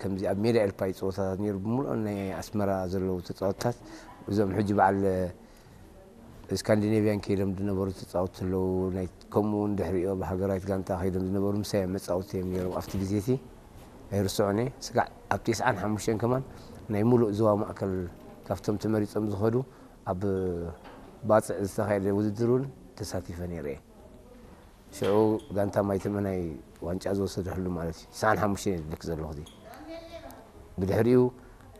ከምዚ ኣብ ሜዳ ኤልፓ እዩ ጸወታታት ነይሩ። ብምሉኦም ናይ ኣስመራ ዘለዉ ተጻወትታት፣ እዞም ሕጂ በዓል ስካንዲኔቭያን ከይዶም ዝነበሩ ተጻወትቲ ኣለዉ። ናይ፣ ከምኡ እውን ድሕሪኡ ኣብ ሃገራዊት ጋንታ ከይዶም ዝነበሩ ምሳይ መጻወትቲ እዮም ነይሮም። ኣብቲ ግዜ እቲ ኣይርስዖን እየ። ስጋዕ ኣብ ተስዓን ሓሙሽተን ከማን ናይ ሙሉእ ዞባ ማእከል ካብቶም ተመሪጾም ዝኸዱ ኣብ ባጽዕ ዝተኻየደ ውድድር እውን ተሳቲፈ ነይረ እየ። ሽዑ ጋንታ ማይተመናይ ዋንጫ ዝወሰደሉ ማለት እዩ። ተስዓን ሓሙሽተን እየ ዝብለኪ ዘለኹ። ብድሕሪኡ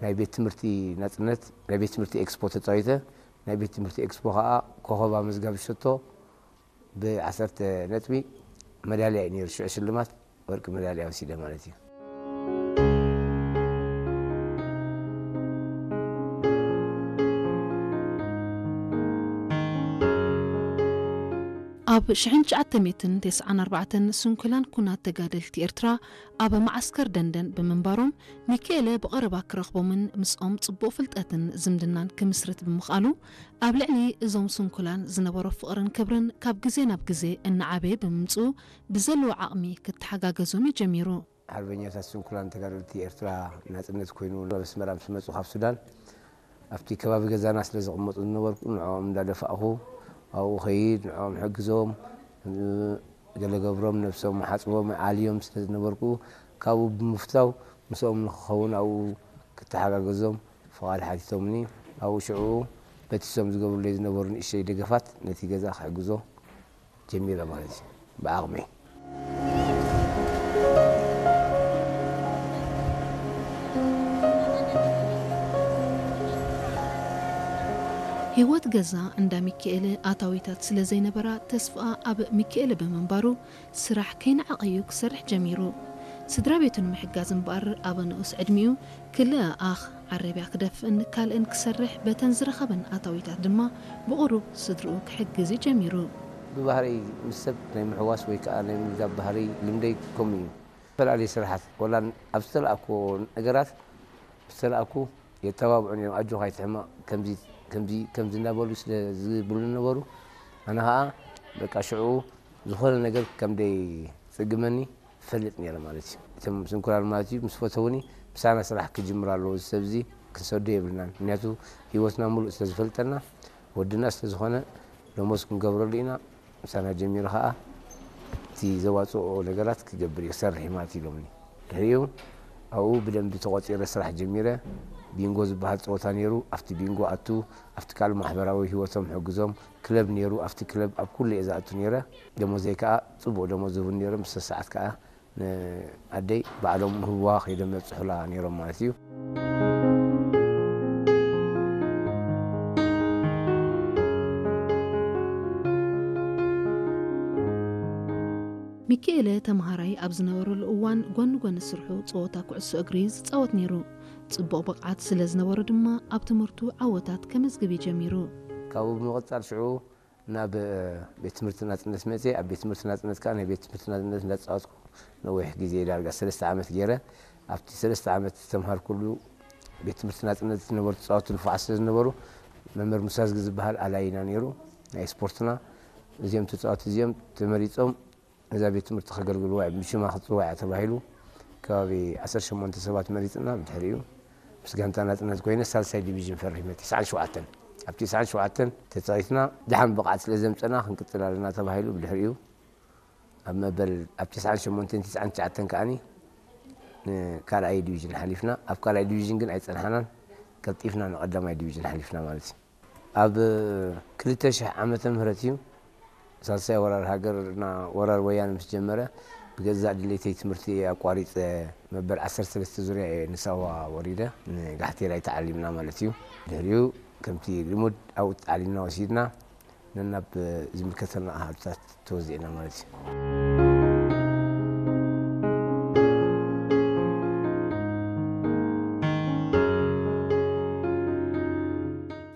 ናይ ቤት ትምህርቲ ናጽነት፣ ናይ ቤት ትምህርቲ ኤክስፖ ተጻዊተ። ናይ ቤት ትምህርቲ ኤክስፖ ኸኣ ኮኸብ ኣመዝጋቢ ሸቶ ብዓሰርተ ነጥቢ መዳልያ እዩ ነይሩ። ሽዑ ሽልማት ወርቂ መዳልያ ወሲደ ማለት እዩ። ኣብ ሽሕን ትሽዓተ ሚእትን ተስዓን ኣርባዕተን ስንኩላን ኩናት ተጋደልቲ ኤርትራ ኣብ መዓስከር ደንደን ብምንባሮም፣ ሚካኤለ ብቐረባ ክረኽቦምን ምስኦም ጽቡቕ ፍልጠትን ዝምድናን ክምስርት ብምኽኣሉ፣ ኣብ ልዕሊ እዞም ስንኩላን ዝነበሮ ፍቕርን ክብርን ካብ ግዜ ናብ ግዜ እናዓበየ ብምምጽኡ፣ ብዘለዎ ዓቕሚ ክተሓጋገዞም እዩ ጀሚሩ። ሓርበኛታት ስንኩላን ተጋደልቲ ኤርትራ ናጽነት ኮይኑ ናብ ኣስመራ ምስ መጹ ካብ ሱዳን፣ ኣብቲ ከባቢ ገዛና ስለ ዝቕመጡ ዝነበርኩ፣ ንዕኦም እንዳደፋእኹ ኣብኡ ኸይድ፣ ንዕኦም ሕግዞም፣ ገለ ገብሮም፣ ነብሶም ሓጽቦም፣ ኣልዮም ስለ ዝነበርኩ፣ ካብኡ ብምፍታው ምስኦም ንኽኸውን ኣብኡ ክተሓጋገዞም ፍቓድ ሓቲቶምኒ። ኣብኡ ሽዑ በቲ እሶም ዝገብሩለይ ዝነበሩ ንእሽተይ ደገፋት ነቲ ገዛ ክሕግዞ ጀሚረ ማለት እዩ፣ ብዓቕመይ። ህይወት ገዛ እንዳ ሚካኤለ ኣታዊታት ስለ ዘይነበራ፣ ተስፋኣ ኣብ ሚካኤለ ብምንባሩ፣ ስራሕ ከይነዓቐ እዩ ክሰርሕ ጀሚሩ። ስድራ ቤቱ ንምሕጋዝ እምበኣር፣ ኣብ ንኡስ ዕድሚኡ ክልተ ኣኣኽ ዓረብያ ክደፍእን ካልእን ክሰርሕ፣ በተን ዝረኸበን ኣታዊታት ድማ ብቑሩብ ስድርኡ ክሕግዝ እዩ ጀሚሩ። ብባህረይ ምስ ሰብ ናይ ምሕዋስ ወይ ከኣ ናይ ምልዛብ ባህረይ ልምደይ ከምኡ እዩ። ዝተፈላለዩ ስራሓት፣ ወላ ኣብ ዝተላእክዎ ነገራት ምስ ተላእኩ የተባብዑኒ እዮም። "ኣጆኻ ኣይትሕመቕ፣ ከምዚ፣ ከምዚ፣ ከምዚ" እናበሉ ስለ ዝብሉ ነበሩ። ኣነ ኸኣ በቃ ሽዑ ዝኾነ ነገር ከም ደይጽግመኒ እፈልጥ ነይረ ማለት እዩ። እቶም ስንኩላን ማለት እዩ ምስ ፈተውኒ፣ "ምሳና ስራሕ ክጅምር ኣለዎ፣ እዚ ሰብ እዚ ክንሰዶ የብልናን። ምክንያቱ ህይወትና ሙሉእ ስለ ዝፈልጠና፣ ወድና ስለ ዝኾነ፣ ደሞዝ ክንገብረሉ ኢና። ምሳና ጀሚሩ ኸኣ እቲ ዘዋጽኦ ነገራት ክገብር እዩ፣ ክሰርሕ እዩ ማለት እዩ" ኢሎምኒ። ድሕሪኡ ኣብኡ ብደንቢ ተቖጺረ ስራሕ ጀሚረ። ቢንጎ ዝበሃል ጸወታ ነይሩ። ኣብቲ ቢንጎ ኣቱ፣ ኣብቲ ካልእ ማሕበራዊ ህይወቶም ሕግዞም። ክለብ ነይሩ። ኣብቲ ክለብ ኣብ ኩሉ እየ ዝኣቱ ነይረ። ደሞዘይ ከኣ ጽቡቕ ደሞዝ ዝህቡኒ ነይሮም። ብሰሰዓት ከኣ ንኣደይ ባዕሎም ህዋ ከይዶም የብጽሑላ ነይሮም ማለት እዩ። ሚካኤለ ተምሃራይ ኣብ ዝነበረሉ እዋን፣ ጎኒ ጎኒ ስርሑ ጸወታ ኩዕሶ እግሪ ዝጻወት ነይሩ። ጽቡቕ ብቕዓት ስለ ዝነበሮ ድማ፣ ኣብ ትምህርቱ ዓወታት ከመዝግብ እዩ ጀሚሩ። ካብኡ ብምቕጻል ሽዑ ናብ ቤት ትምህርቲ ናጽነት መጽየ። ኣብ ቤት ትምህርቲ ናጽነት ከኣ ናይ ቤት ትምህርቲ ናጽነት እንዳጻወትኩ ነዊሕ ግዜ፣ ዳርጋ ሰለስተ ዓመት ገይረ። ኣብቲ ሰለስተ ዓመት ዝተምሃርኩሉ ቤት ትምህርቲ ናጽነት ዝነበሩ ተጻወትቲ ንፉዓት ስለ ዝነበሩ፣ መምህር ሙሳ ዝጊ ዝበሃል ኣላይና ነይሩ፣ ናይ ስፖርትና። እዚኦም ተጻወትቲ እዚኦም ተመሪጾም ነዛ ቤት ትምህርቲ ከገልግልዋ እዮም፣ ብሽማ ክትጽዋዕ እያ ተባሂሉ። ከባቢ ዓሰርተ ሸሞንተ ሰባት መሪጽና፣ ብድሕሪኡ ምስ ጋንታ ናጽነት ኮይነ ሳልሳይ ዲቪዥን ፈሪመ፣ ተስዓን ሸውዓተን። ኣብ ተስዓን ሸውዓተን ተጻዊትና፣ ደሓን ብቕዓት ስለ ዘምጸና ክንቅጽል ኣለና ተባሂሉ። ብድሕሪኡ ኣብ መበል፣ ኣብ ተስዓን ሸሞንተን ተስዓን ትሽዓተን ከኣኒ ንካልኣይ ዲቪዥን ሓሊፍና። ኣብ ካልኣይ ዲቪዥን ግን ኣይጸንሓናን፣ ቀልጢፍና ንቐዳማይ ዲቪዥን ሓሊፍና ማለት እዩ። ኣብ ክልተ ሽሕ ዓመተ ምህረት እዩ፣ ሳልሳይ ወራር ሃገርና፣ ወራር ወያነ ምስ ጀመረ፣ ብገዛእ ድሌተይ ትምህርቲ ኣቋሪጸ፣ መበል ዓሰርተ ሰለስተ ዙርያ እየ ንሳዋ ወሪደ፣ ንጋሕቴላይ ተዓሊምና ማለት እዩ። ድሕሪኡ ከምቲ ልሙድ ኣብኡ ተዓሊምና ወሲድና፣ ነናብ ዝምልከተና ኣሃዱታት ተወዚዕና ማለት እዩ።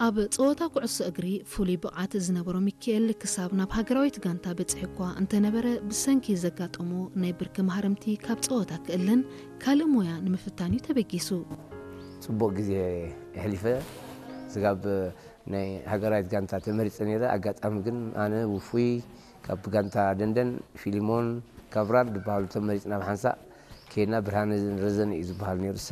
ኣብ ጸወታ ኩዕሶ እግሪ ፍሉይ ብቕዓት ዝነበሮ ሚካኤል፣ ክሳብ ናብ ሃገራዊት ጋንታ በጺሑ እኳ እንተነበረ፣ ብሰንኪ ዘጋጠሞ ናይ ብርኪ ማህረምቲ ካብ ጸወታ ክእለን ካልእ ሞያ ንምፍታን እዩ ተበጊሱ። ጽቡቕ ግዜ የሕሊፈ። ስጋብ ናይ ሃገራዊት ጋንታ ተመሪጸ ነይረ። ኣጋጣሚ ግን ኣነ፣ ውፉይ፣ ካብ ጋንታ ደንደን፣ ፊሊሞን፣ ካብራል ዝበሃሉ ተመሪጽና ብሓንሳእ ከይድና ብርሃነ ረዘነ እዩ ዝበሃል ነይሩ